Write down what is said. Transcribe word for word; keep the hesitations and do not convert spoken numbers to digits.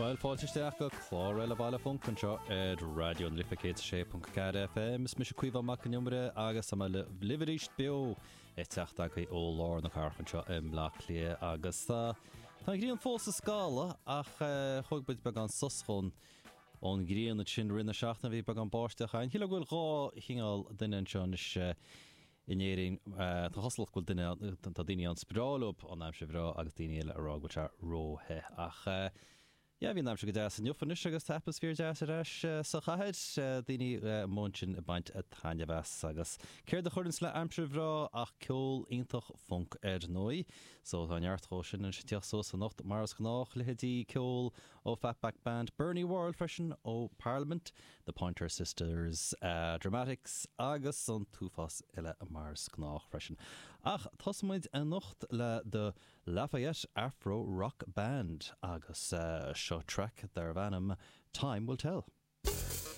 Bhuel, fáilte isteach go clár eile Baile Func anseo ar Raidió na Life céad sé ponc ceathair F M. Is mise Caoimhe Mac an Iomaire agus tá mé libh arís beo ag teacht agaibh ó lár na cathrach anseo i mBleá Cliath agus tá tá an ghrian fós ag scalladh ach thóg muid beagán sos ón ón ghrian ansin i rith na seachtaine. Bhí beagán báisteach ann. Shílfeá go bhfuil dhá chineál duine anseo anois in Éirinn. Tá cosúlacht go bhfuil duine tá daoine ann is breá leo an aimsir bhreá agus daoine eile a rá go bhfuil sé róthe ach yeah, bhí an aimsir go deas inniu anois agus tá atmaisféar deas ar ais sa chathair, daoine amuigh ansin ag baint taitneamh as agus céard a chuireann le aimsir bhreá ach ceol iontach funk ar ndóigh. So tá neart dhó sin anois ag teacht suas anocht mar is gnách, leithéidí ceol ó Fatback Band, Bernie Worrell freisin ó Parliament, The Pointer Sisters, uh, Dramatics agus an t-uafás eile mar is gnách freisin. Ach tosóimid anocht le The Lafayette Afro Rock Band agus uh, seo track darb ainm Time Will Tell.